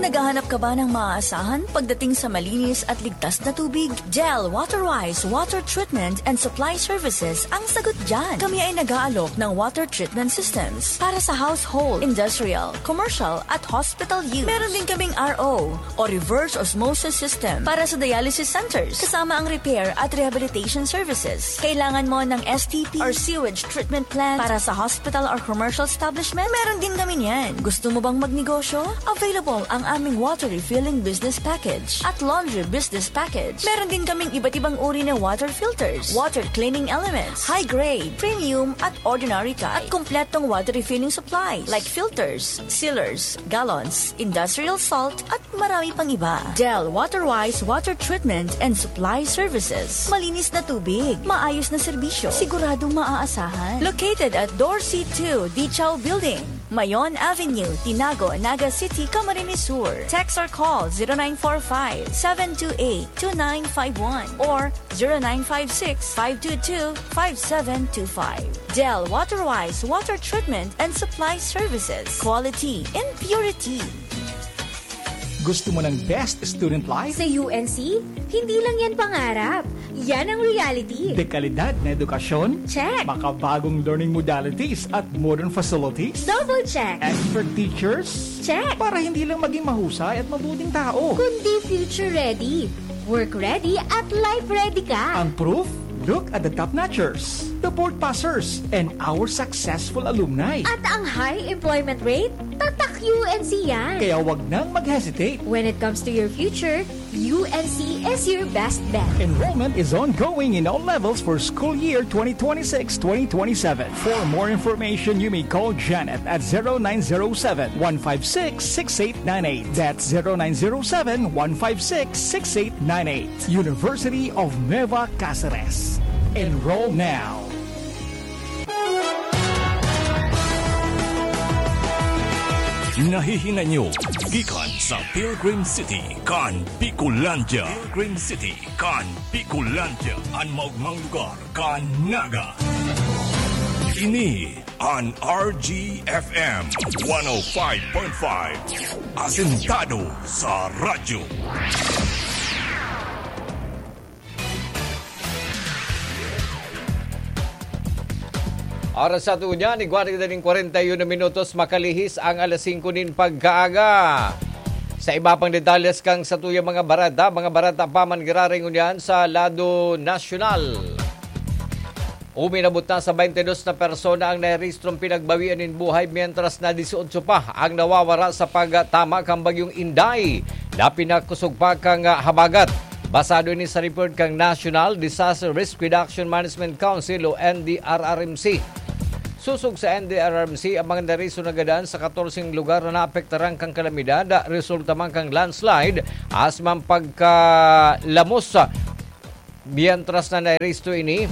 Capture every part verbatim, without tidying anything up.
Naghahanap ka ba ng maaasahan pagdating sa malinis at ligtas na tubig? Del Waterwise Water Treatment and Supply Services ang sagot dyan. Kami ay nag-aalok ng water treatment systems para sa household, industrial, commercial at hospital use. Meron din kaming R O o reverse osmosis system para sa dialysis centers, kasama ang repair at rehabilitation services. Kailangan mo ng S T P or sewage treatment plant para sa hospital or commercial establishment? Meron din kami niyan. Gusto mo bang magnegosyo? Available ang aming water refilling business package at laundry business package. Meron din kaming iba't ibang uri na water filters, water cleaning elements, high grade, premium at ordinary type, at kompletong water refilling supplies like filters, sealers, gallons, industrial salt, at marami pang iba. Del Waterwise Water Treatment and Supply Services. Malinis na tubig, maayos na serbisyo, siguradong maaasahan. Located at Dorsey two Dichaw Building, Mayon Avenue, Tinago, Naga City, Camarines Sur. Text or call zero nine four five, seven two eight, two nine five one or zero nine five six, five two two, five seven two five. Del Waterwise Water Treatment and Supply Services. Quality in purity. Gusto mo ng best student life? Sa U N C, hindi lang yan pangarap. Yan ang reality. Dekalidad na edukasyon? Check. Makabagong learning modalities at modern facilities? Double check. Expert teachers? Check. Para hindi lang maging mahusay at mabuting tao. Kundi future ready, work ready at life ready ka. Ang proof? Look at the top notchers, the board passers, and our successful alumni. At ang high employment rate? Tatak U N C yan. Kaya wag nang mag-hesitate. When it comes to your future, U N C is your best bet. Enrollment is ongoing in all levels for school year twenty twenty-six twenty twenty-seven. For more information, you may call Janet at zero nine zero seven, one five six, six eight nine eight. That's zero nine zero seven, one five six, six eight nine eight. University of Nueva Caceres. Enroll now. Nahihinay nyo gikan sa Pilgrim City kan Bicolandia. Pilgrim City kan Bicolandia, an maogmang lugar kan Naga. Ini an R G F M one oh five point five. Asentado sa radyo. Oras sa ato niyan, igwa na kita nin kwarenta y uno minutos, makalihis ang alas singko nin pagkaaga. Sa iba pang detalles kan satuyang mga bareta, mga bareta pa man giraray ngunyan sa lado nasyonal. Uminabot na sa baynte dos na persona ang narehistrong pinagbawian nin buhay, mientras na dieciocho pa ang nawawara sa pagtama kan Bagyong Inday na pinakosog pa kan habagat. Basado ini sa report kan National Disaster Risk Reduction Management Council o N D R R M C. Sosog sa N D R R M C, ang mga narehistro nagadan sa katorseng lugar na naapektaran kan kalamidad, resulta man kan landslide, asin man pagkalamos. Mientras na narehisto ini,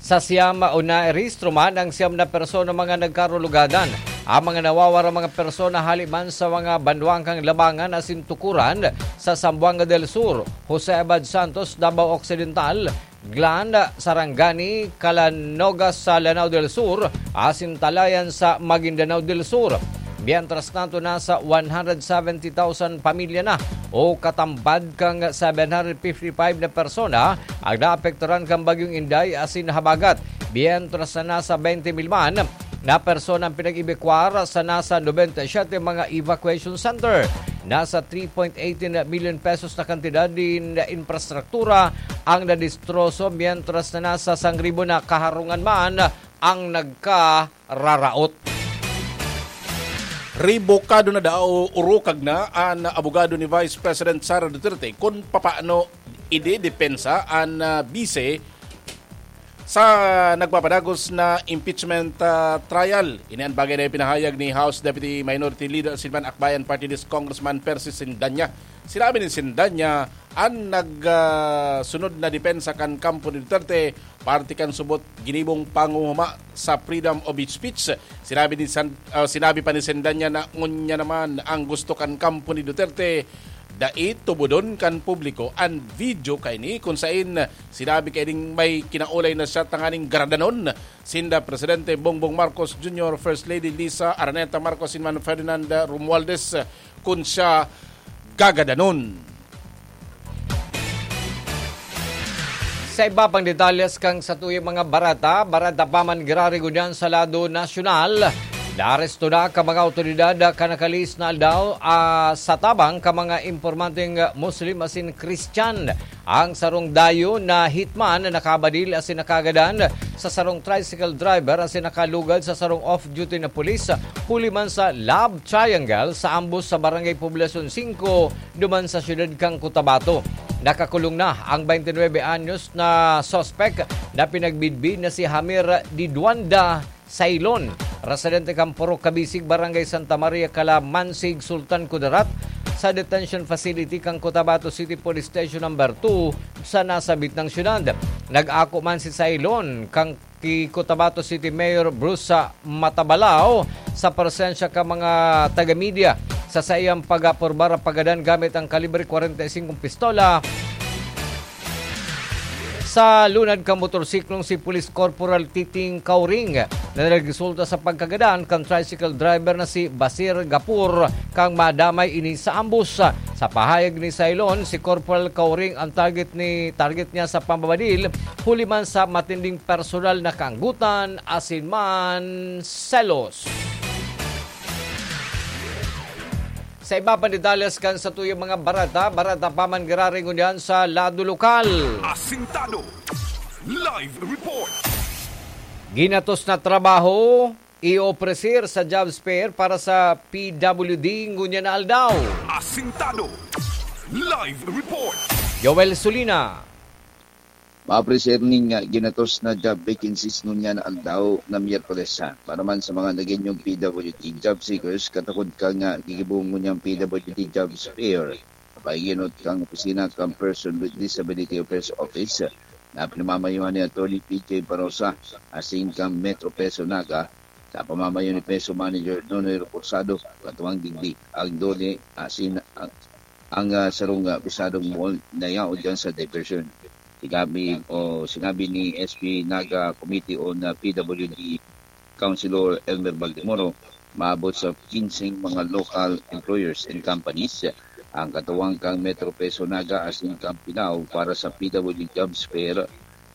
sa siyam o narehisto man ang siyam na persona mga nagkarulugadan. Ang mga nawawara mga persona hali man sa mga banwang kan Labangan asin Tukuran sa Zamboanga del Sur, Jose Abad Santos, Davao Occidental, Glan, Sarangani, Calanoga sa Lanao del Sur, asin Talayan sa Maguindanao del Sur. Mientras tanto, nasa one hundred seventy thousand pamilya na o katambad kan seven hundred fifty-five na persona ang naapektaran kan Bagyong Inday asin habagat, mientras na nasa twenty mil man na persona ang pinag-ebakwar sa nasa nobenta y siyete mga evacuation center. Nasa three point eighteen million pesos na kantidad nin infrastruktura ang nadistroso, mientras na nasa sangribo na kaharungan man ang nagkararaot. Rebukado na daw o urukag na an abogado ni Vice President Sara Duterte kun papaano idedepensa an, ah, bise sa nagpapadagos na impeachment, ah, trial. Ini an bagay na ipinahayag ni House Deputy Minority Leader asin man Akbayan Party List Congressman Percy Sendanya. Sinabi ni Sendanya, an nag, ah, sunod na depensa kan kampo ni Duterte, parte kan subot ginibong panguhuma sa freedom of speech. Sinabi ni San-, ah, sinabi pa ni Sendanya na ngunyan naman ang gusto kan kampo ni Duterte, dai tubodon kan publiko an video kaini kun saen sinabi kaining may kinaulay na siya tanganing garadanon sinda Presidente Bongbong Marcos Junior, First Lady Liza Araneta Marcos, asin man Ferdinand Romualdez. kun siya gagadanon. Sa iba pang detalles kan satuyang mga bareta, bareta pa man girari ngunyan sa lado nasyonal. Naaresto na kan mga awtoridad kan nakalihis na aldaw, ah, sa tabang kan mga impormanteng Muslim asin Christian. Ang sarong dayo na hitman na nakabadil asin nakagadan sa sarong tricycle driver asin nakalugad sa sarong off-duty na pulis huli man sa love triangle sa ambos sa Barangay Poblacion singko, duman sa siyudad kan Cotabato. Nakakulong na ang twenty-nine anyos na suspek na pinagbidbid na si Hamir Diduanda Sailon, residente kan Purok Kabisig, Barangay Santa Maria, Calamansig, Sultan Kudarat, sa detention facility kan Cotabato City Police Station Number two sa nasabit na siyudad. Nag-ako man si Sailon kan ki Cotabato City Mayor Bruce Matabalao sa presensya kan mga taga-media sa saiyang pag-apurbar pagadan gamit ang kalibre kwarenta y singko pistola sa lunad kan motorsiklong si Police Corporal Titing Kauring na nagresulta sa pagkagadan kan tricycle driver na si Basir Gapur kan madamay ini sa ambos. Sa pahayag ni Sailon, si Corporal Kauring ang target ni target niya sa pambabadil huli man sa matinding personal na kaanggotan asin man selos. Sa iba pang detalles kan satuyang mga bareta, bareta pa man girari ngunyan sa lado lokal. Asintado. Live report. Ginatos na trabaho, iopresir sa job fair para sa P W D ngunyan na aldaw. Asintado. Live report. Joel Sulina. Mapresir nin, ah, ginatos na job vacancies ngunyan na aldaw na Miyerkules, ah, para man sa mga Nagueñong P W D job seekers, katakod kan, ah, gigibohon ngunyan P W D Jobs Fair. Paiginot kan opisina kan Person with Disability Affairs Office, ah, na pinamamayohan ni Attorney P J Barosa, asin kan Metro Peso Naga, sa pamamayo ni Peso Manager Nonoy Reposado, katuwang digdi ang DOLE, asin ang, ang, ah, sarong, ah, pisadong mall na yaon diyan sa diversion. Sinabi, o sinabi ni S P Naga Committee on, ah, P W D Councilor Elmer Baldemoro, maabot sa kinseng mga local employers and companies ang katuwang kan Metro Peso Naga asin kan Pinao para sa P W D Jobs Fair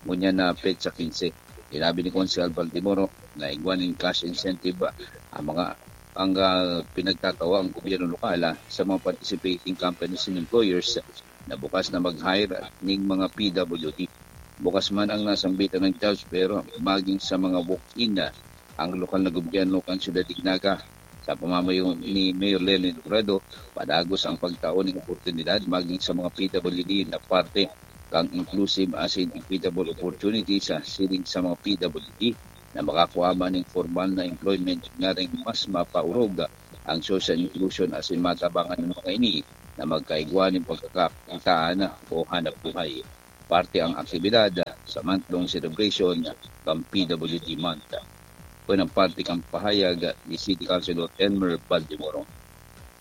ngunyan na petsa quince. Sinabi ni Konsehal Baldemoro na igwa nin cash incentive ang mga, ang, ah, pinagtatawa ang gobyerno lokal, ah, sa mga participating companies and employers na bukas na mag-hire ning mga P W D. Bukas man ang nasambitan ng jobs, pero maging sa mga walk-in na ang lokal na gobyerno kan Siyudad de Naga, sa pamamayo ni Mayor Lelin Robredo, padagos ang pagtao ning oportunidad maging sa mga P W D na parte kan inclusive asin equitable opportunity sa siring sa mga P W D na makakua man ning formal na employment, nganing mas mapaurog ang social inclusion asin matabangan ng mga ini na magkaigwa nin pagkakakitaan o hanap buhay. Parte ang aktibidad sa month-long celebration kan P W D Month. Kun ang parte kan pahayag ni City Councilor Elmer Baldemoro.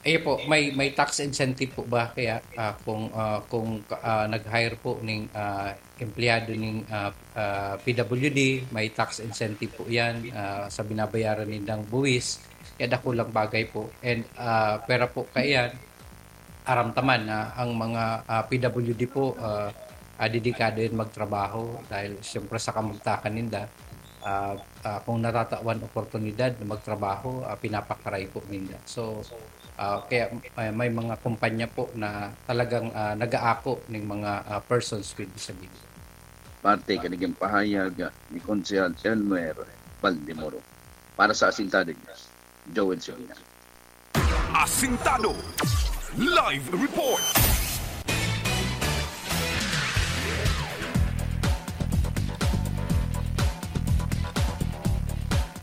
Ayun po, may, may tax incentive po ba kaya, ah, kung, ah, kung, ah, nag-hire po ning, ah, empleyado ning, ah, ah, P W D, may tax incentive po yan, ah, sa binabayaran nindang buwis. Kaya dakulang bagay po. And, ah, pwera po kaiyan, aram ta man na ang mga, ah, P W D po, ah, ah, dedikado yan magtrabaho dahil siyempre sa kamugtakan ninda, ah, ah, kung natatawan oportunidad na magtrabaho, ah, pinapakaray po ninda. So, ah, kaya may, may mga kumpanya po na talagang, ah, nag-aako ning mga, ah, persons with disability. Parte kan naging pahayag ni Konsehal Elmer Baldemoro. Para sa Asintado News, Joel Sabina. Asintado. Live report.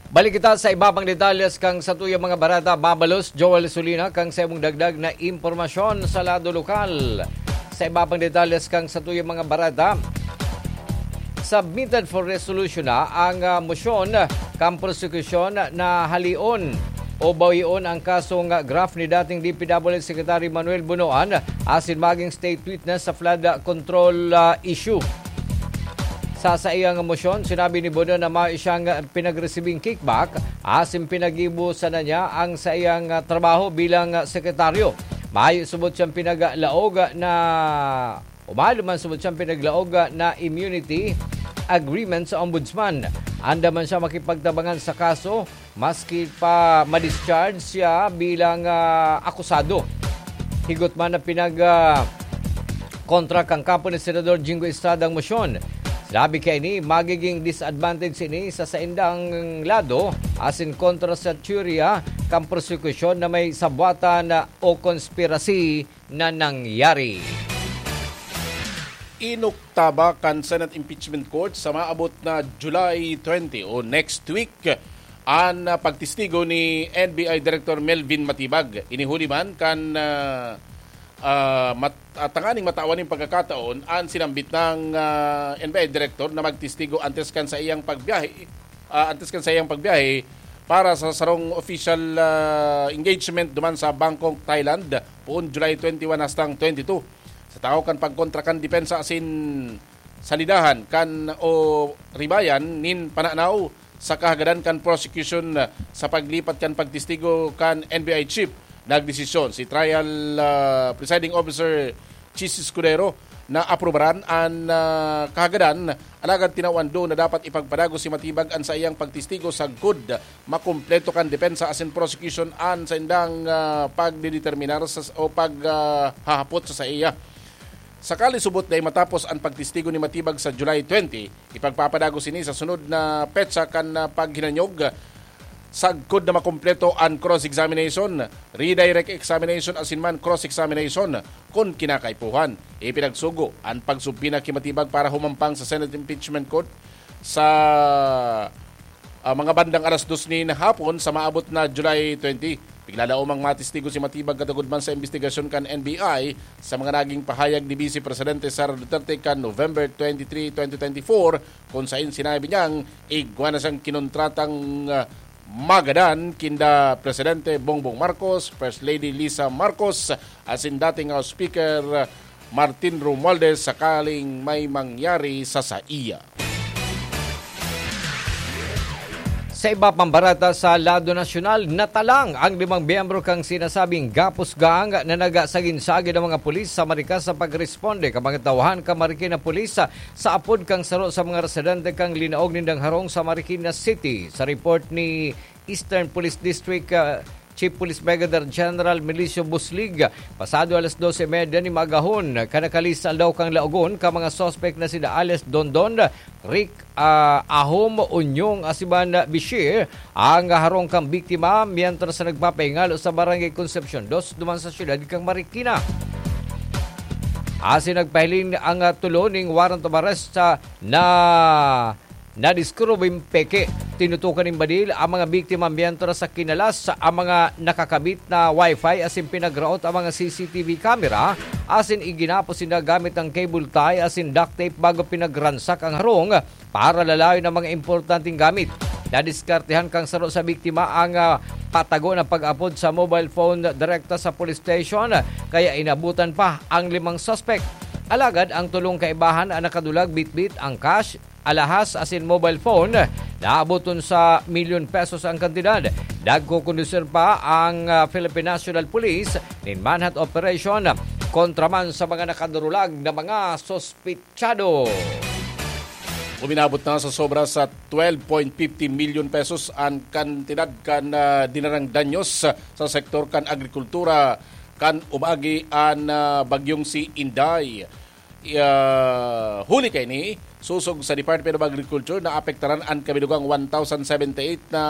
Balik kita sa iba pang detalles kan satuyang mga bareta. Mabalos, Joel Sulina, kan sa imong dagdag na impormasyon sa lado lokal. Sa iba pang detalles kan satuyang mga bareta, submitted for resolution na ang, ah, mosyon kan prosekusyon na halion o bawion ang kasong graft ni dating D P W Secretary Manuel Bonoan asin maging state witness sa flood control, ah, issue. Sa saiyang mosyon, sinabi ni Bono na mayo siyang pinagresibing kickback asin pinagibo sana niya ang saiyang, ah, trabaho bilang, ah, sekretaryo. Mayo subot siyang pinaglaog na, o mayo man subot siyang pinaglaog na immunity agreement sa ombudsman. Andam man siya makipagtabangan sa kaso maski pa ma-discharge siya bilang, ah, akusado. Higot man na pinag, ah, kontra kan kampo ni Senador Jinggoy Estrada ang mosyon. Sinabi kaini, magiging disadvantage ini sa saindang lado asin kontra sa teorya kan prosekusyon na may sabwatan o konspirasi na nangyari. Inukta ba kan Senate Impeachment Court sa maabot na July twenty o next week an, ah, pagtestigo ni N B I Director Melvin Matibag? Inihuli man kan, ah, ah, mat-, ah, tanganing matawan nin pagkakataon an sinambit ng, ah, N B I Director na magtestigo antes kan saiyang pagbiyahe, ah, antes kan saiyang pagbiyahe para sa sarong official, ah, engagement duman sa Bangkok, Thailand, poon July twenty-one hastang twenty-two. Sa tahaw kan pagkontra kan depensa asin salidahan kan o ribayan nin pananaw sa kahagadan kan prosecution sa paglipat kan pagtestigo kan N B I chief, nagdesisyon si trial, ah, presiding officer Chis Escudero na aprobaran an, ah, kahagadan, alagad tinawan do na dapat ipagpadagos si Matibag an saiyang pagtestigo sagkod makumpleto kan depensa asin prosecution an saindang, ah, pagdedeterminar sa, o pag, ah, hahapot sa saiya. Sakali subot dai matapos an pagtestigo ni Matibag sa July twenty, ipagpapadagos ini sa sunod na petsa kan, ah, paghinanyog, sagkod na makumpleto an cross-examination, redirect examination asin man cross-examination kun kinakaipuhan. Ipinagsugo an pagsubpina ki Matibag para humampang sa Senate Impeachment Court sa, ah, mga bandang alas dos nin hapon sa maabot na July twenty. Piglalaomang matestigo si Matibag katugod man sa imbestigasyon kan N B I sa mga naging pahayag ni Vice Presidente Sara Duterte kan November twenty-three, twenty twenty-four, kung sain sinabi niyang igwa na siyang kinontratang, ah, magadan kinda Presidente Bongbong Marcos, First Lady Lisa Marcos, asin dating House Speaker Martin Romualdez sakaling may mangyari sa saiya. Sa iba pang bareta sa lado nasyonal, natalang ang limang miyembro kan sinasabing Gapus Gang na nagsagin-sagin ang mga pulis sa Marikina sa pagresponde kan mga tauhan kan Marikina Police sa apod kan saro sa mga residente kan linaog nindang harong sa Marikina City. Sa report ni Eastern Police District, ah, Chief Police Brigadier General Milicio Buslig, pasado alas dose y media nin maagahon, kan nakalista aldaw kan laogon kan mga suspek na sina alias Dondon, Rick, ah, Ahom, Unyong, asin man Bishir, ang harong kan biktima, mientras na nagpapahingalo sa Barangay Concepcion dos, duman sa siyudad kan Marikina. Asin nagpahiling ang, ah, tulo ning warrant of arrest, ah, na nadiskubreng peke. Tinutukan nin badil ang mga biktima mientras sa kinalas ang mga nakakabit na wifi asin pinagraot ang mga C C T V camera asin iginapos sinda gamit ang cable tie asin duct tape bago pinagransak ang harong para lalayon ang mga importanteng gamit. Nadiskartehan kan saro sa biktima ang, ah, patago na pag-apod sa mobile phone direkta sa police station, kaya inabutan pa ang limang suspek. Alagad ang tulong kaibahan ang nakadulag bitbit ang cash, alahas asin mobile phone, naaboton sa milyon pesos ang kantidad. Nagkukondusir pa ang, ah, Philippine National Police nin manhunt operation kontra man sa mga nakadurulag na mga suspitsado. Uminabot na sa sobra sa twelve point fifty milyon pesos an kantidad kan, ah, dinarang danyos sa sektor kan agrikultura kan umagi an, ah, bagyong si Inday. Ah, huli kaini, sosog sa Department of Agriculture, naapektaran an kabilugang one thousand seventy-eight na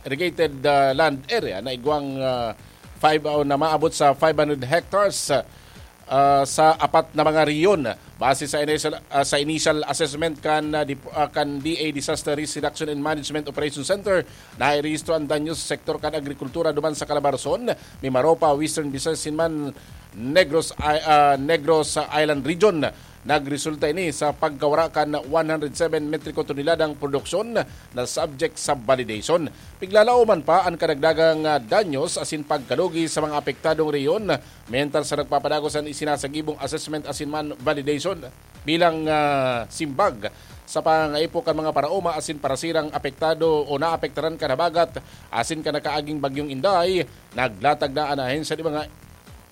irrigated, ah, land area na igwang, ah, five, o na maabot sa five hundred hectares, ah, sa apat na mga rehiyon. Base sa initial, ah, sa initial assessment kan, ah, dip-, ah, kan D A Disaster Risk Reduction and Management Operation Center, nairehistro an danyo sa sektor kan agrikultura duman sa Calabarzon, Mimaropa, Western Visayas, asin man Negros, I-, ah, Negros Island Region. Nagresulta ini sa pagkawara kan one hundred seven metriko toneladang produksyon na subject sa validation. Piglalaoman pa an kadagdagang, ah, danyos asin pagkalugi sa mga apektadong rehiyon, mientras sa nagpapadagos an isinasagibong assessment asin man validation bilang, ah, simbag sa pangaipo kan mga paraoma asin parasirang apektado o naapektaran kan habagat asin kan nakaaging Bagyong Inday. Naglatag na an ahensya nin mga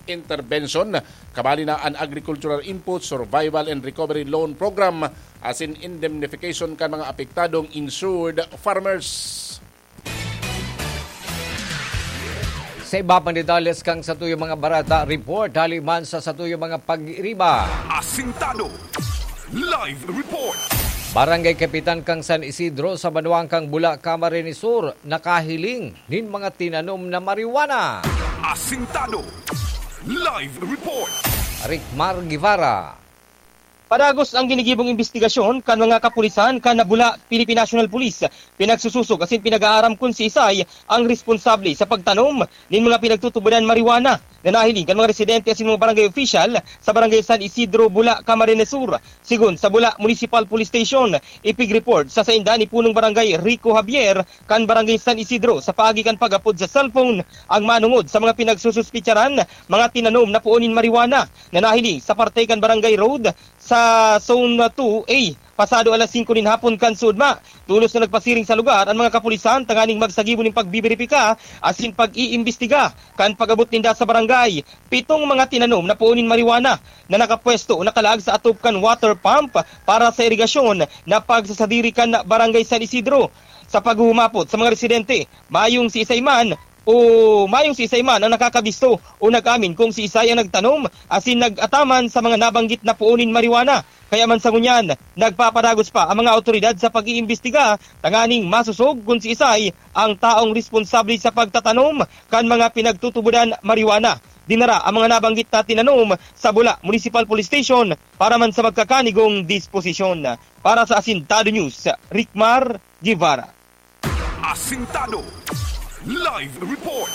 interbensyon, kabali na an Agricultural Input Survival and Recovery Loan Program asin indemnification kan mga apektadong insured farmers. Sa iba pang detalles kan satuyang mga bareta, report hali man sa satuyang mga pag-iriba. Asintado. Live report. Barangay Kapitan kan San Isidro sa banwaan kan Bula, Camarines Sur, nakahiling nin mga tinanom na marijuana. Asintado. Live report. Ricmar Guevara. Padagos ang ginigibong imbestigasyon kan mga kapulisan kan Bula, Philippine National Police. Pinagsususog asin pinag-aaram kun siisay ang responsable sa pagtanom nin mga pinagtutubodan marijuana na nahiling kan mga residente asin mga barangay official sa Barangay San Isidro, Bula, Camarines Sur. Sigon sa Bula Municipal Police Station, ipig-report sa sainda ni Punong Barangay Rico Javier kan Barangay San Isidro sa paagi kan pag-apod sa cellphone ang manongod sa mga pinagsususpitsaran mga tinanom na puon nin marijuana na nahiling sa parte kan Barangay Road sa Zone two A, pasado alas singko nin hapon kan suodma. Tolos na nagpasiring sa lugar an mga kapulisan tanganing magsagibo nin pagbiberipika asin pag-iimbestiga. Kan pag-abot ninda sa barangay, pitong mga tinanom na puon nin marijuana na nakapwesto o nakalaag sa atop kan water pump para sa irigasyon na pagsasadiri kan Barangay San Isidro. Sa paghumapot sa mga residente, mayong siisay man o mayong siisay man ang nakakabisto o nag-amin kung siisay ang nagtanom asin nag-ataman sa mga nabanggit na puon nin marijuana. Kaya man sa ngunyan, nagpapadagos pa ang mga awtoridad sa pag-iimbestiga tanganing masosog kun siisay ang taong responsable sa pagtatanom kan mga pinagtutubodan marijuana. Dinara ang mga nabanggit na tinanom sa Bula Municipal Police Station para man sa magkakanigong disposisyon. Para sa Asintado News, Ricmar Guevara. Asintado. Live report.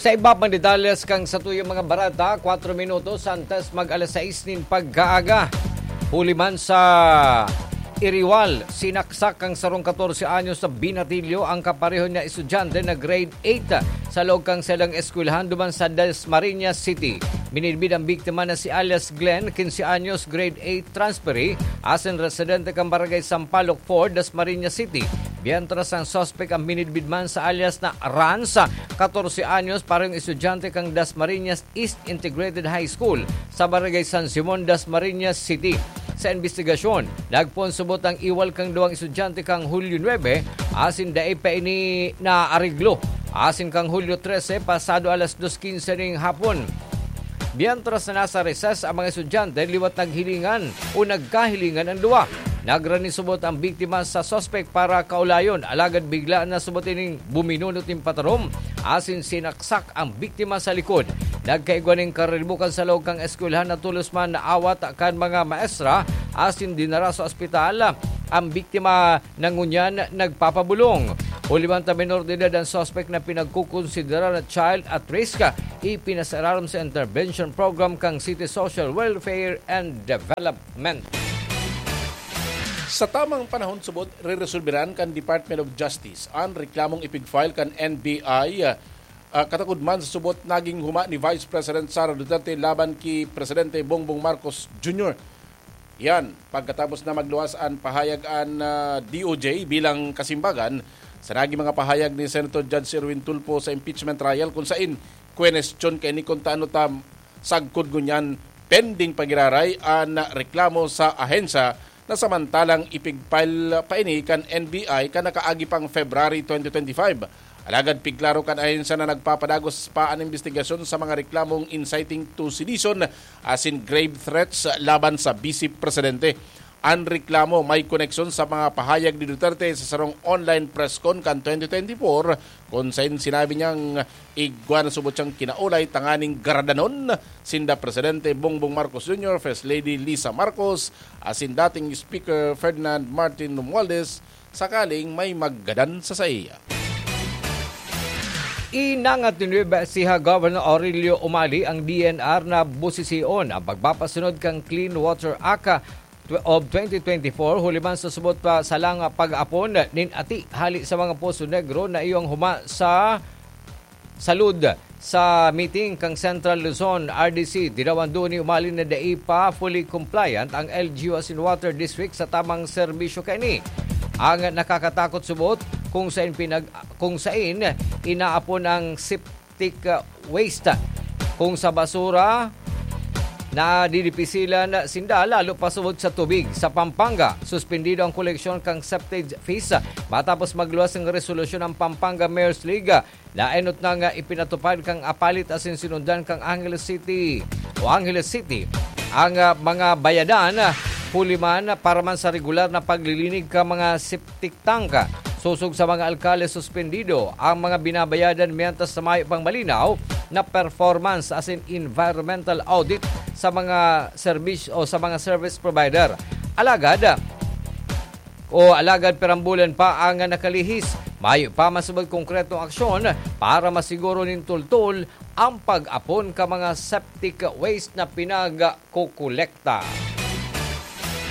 Sa iba pang detalles kan satuyang mga bareta, kwatro minutos antes mag alas sais nin pagkaaga. Huli man sa Iriwal, sinaksak kan sarong katorse anyos na binatilyo ang kapareho niya estudyante na grade eight sa loob kan saiyang eskwelahan duman sa Dasmariñas City. Minidbid ang biktima na si alias Glenn, quince anyos, grade eight transferee, asin residente kan Barangay Sampaloc four, Dasmariñas City. Mientras ang suspek ang minidbid man sa alias na Rans, katorse anyos, parehong estudyante kan Dasmariñas East Integrated High School sa Barangay San Simon, Dasmariñas City. Sa imbestigasyon, nagpoon subot ang iwal kan duwang estudyante kan Hulyo nuebe, asin dai pa ini naareglo. Asin kan Hulyo trese, pasado alas dos quince ning hapon. Mientras na nasa recess ang mga estudyante, liwat naghilingan o nagkahilingan ang duwa. Nagranisubot ang biktima sa suspek para kaulayon, alagad bigla na subot ining buminunot nin patarom asin sinaksak ang biktima sa likod. Nagkaigwa nin kariribukan sa loob kan eskwelahan na tolos man naawat kan mga maestra asin dinara sa ospital. Ang biktima na ngunyan nagpapabulong. Huli man ta, menor de edad ang suspek na pinagkukonsidera na child at risk, ipinasararom sa intervention program kan City Social Welfare and Development. Sa tamang panahon subot, reresolberan kan Department of Justice an reklamong ipig-file kan N B I, ah, katakod man sa subot naging huma ni Vice President Sara Duterte laban ki Presidente Bongbong Marcos Junior. Yan, pagkatapos na magluwas an pahayag an, ah, D O J bilang kasimbagan sa naging mga pahayag ni Senator Judge Erwin Tulfo sa impeachment trial, kung sain kwenestyon kaini kung ta ano ta sagkod ngunyan pending pagiraray an reklamo sa ahensya na samantalang ipig-file pa ini kan N B I kan nakaagi pang February twenty twenty-five. Alagad pigklaro kan ahensya na nagpapadagos pa an imbestigasyon sa mga reklamong inciting to sedition asin grave threats laban sa Vice Presidente. An reklamo may koneksyon sa mga pahayag ni Duterte sa sarong online press con kan twenty twenty-four, kun sain sinabi niyang igwa na subot siyang kinaulay tanganing garadanon sinda Presidente Bongbong Marcos Junior, First Lady Lisa Marcos, asin dating Speaker Ferdinand Martin Romualdez, sakaling may maggadan sa saiya. Inangat ni Nueva Ecija Governor Aurelio Umali ang D N R na busision ang pagpapasunod kan Clean Water Act of twenty twenty-four, huli man sa subot pa salang pag-apon nin ati hali sa mga Poso Negro na iyong huma sa salud. Sa meeting kan Central Luzon R D C, dinawando ni Umali na dai pa fully compliant ang L G U asin Water District sa tamang serbisyo kaini. Ang nakakatakot subot kung sain pinag-, kung sain inaapon ang septic, uh, waste. Kung sa basura, nadidipisilan sinda lalo pa subot sa tubig. Sa Pampanga, suspendido ang koleksyon kan septage fees matapos magluwas ng resolusyon ang Pampanga Mayor's League. Naenot na nga ipinatupad kang apalit asin sinundan kang Angeles City o Angeles City ang, ah, mga bayadan, ah, huli man para man sa regular na paglilinig ka mga septic tank. Sosog sa mga alkalde, suspendido ang mga binabayadan mientras sa mayo pang malinaw na performance asin environmental audit sa mga serbisyo o sa mga service provider. Alagad, o alagad perambulan pa ang nakalihis. Mayo pa masubag konkretong aksyon para masiguro nin tultol ang pag-apon ka mga septic waste na pinagkukolekta.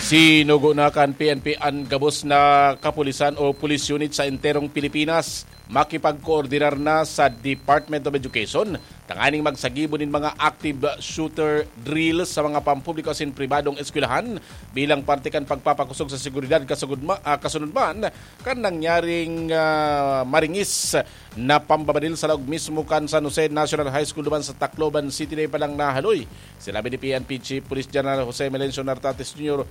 Sinugo na kan P N P an gabos na kapulisan o police unit sa enterong Pilipinas. Makipagkoordinar na sa Department of Education tanganing magsagibo nin mga active shooter drill sa mga pampubliko asin pribadong eskwelahan bilang parte kan pagpapakosog sa seguridad, kasugod ma-, ah, kasunod man kan nangyaring, ah, maringis na pambabadil sa laog mismo kan San Jose National High School duman sa Tacloban City na palang nahaloy. Sinabi ni P N P Chief Police General Jose Melencio Nartates Junior,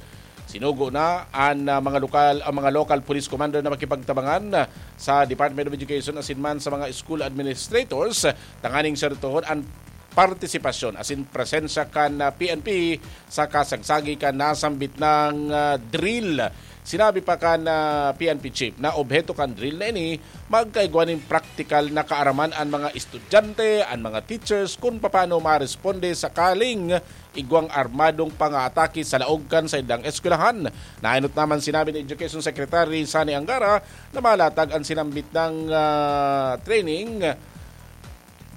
sinugo na an, ah, mga lokal, ang mga local police commander na makipagtabangan, ah, sa Department of Education asin man sa mga school administrators, tanganing sertohon an partisipasyon asin presensya kan, ah, P N P sa kasagsagi kan nasambit na, ah, drill. Sinabi pa kan, ah, P N P chief na obheto kan drill na ini magkaigwa nin praktikal na kaaraman an mga estudyante, an mga teachers, kun papaano maresponde sakaling igwang armadong pangaatake sa laog kan saindang eskwelahan. Naenot naman sinabi ni Education Secretary Sonny Angara na malatag an sinambit na, ah, training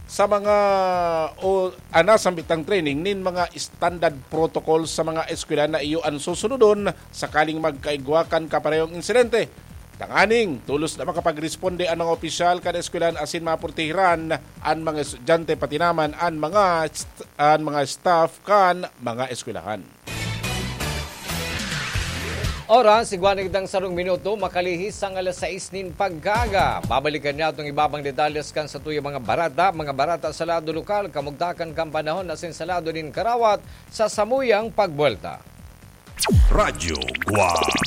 sa mga, o, ah, nasambit na training nin mga standard protocol sa mga eskwela na iyo an susunodon sakaling magkaigwa kan kaparehong insidente. Tanganing tolos na makapagresponde an mga opisyal kan eskwelahan asin maprotehiran an mga estudyante, pati naman an mga st-, an mga staff kan mga eskwelahan. Oras, igwa na kitang sarong minuto, makalihis ang alas sais nin pagkaaga. Babalikan niya itong ibabang detalles kan satuyang mga barata, mga barata sa lado lokal, kamugtakan kan panahon asin sa lado nin karawat sa samuyang pagbuwelta. Radyo Guwang.